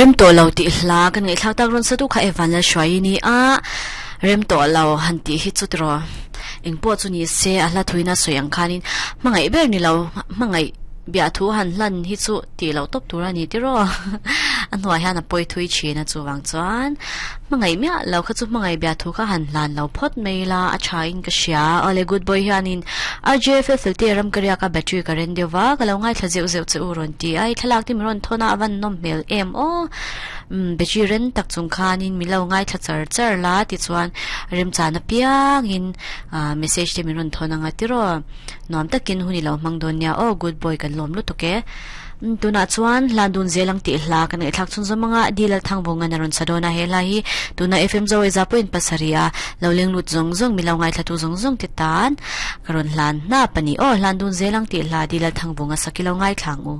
Rem tawh lo tih hla kan ngaihthlak tak rawn satu kha Evan Lalhruaii ni a, rem tawh lo han tih hi chu tiraw engpawh chu ni se a hla thuina sawi ang khanin hmangaih ber ni lo hmangaih biahthu han hlan hi chu tih loh tawp tur a ni tiraw a hnuai hian a pawi thui thin a chuvang chuan hmangaih miah lo kha chu hmangaih biahthu kha han hlan lo phawt mai ila a tha in ka hria awle good boy hianin RJFL felte ram ka riak a battery ka ren deuh va ka lo ngaithla zeuh zeuh che u rawn ti a i thlalak te min rawn thawn a a van nawm hmel em aw umm battery ren tak chung khanin min lo ngaithla char char la tichuan remchana piangin ah message te min rawn thawn anga tiraw. Nuam takin hun i lo hmang dawn nia aw good boy kan lawm lutuk e. Umm tunah chuan hla dun zel ang tih hla kan ngaihthlak chhun zawm anga Dil Althangvung an a rawn sa dawn a he hla hi tuna FM Zawei za pawhin pasarih a lo leng lut zawng zawng mi lo ngaithlatu zawng zawng te tan ka rawn hlan hnap a ni aw hlan dun zel ang tih hla Dil Althangvung a sak i lo ngaithla ang u.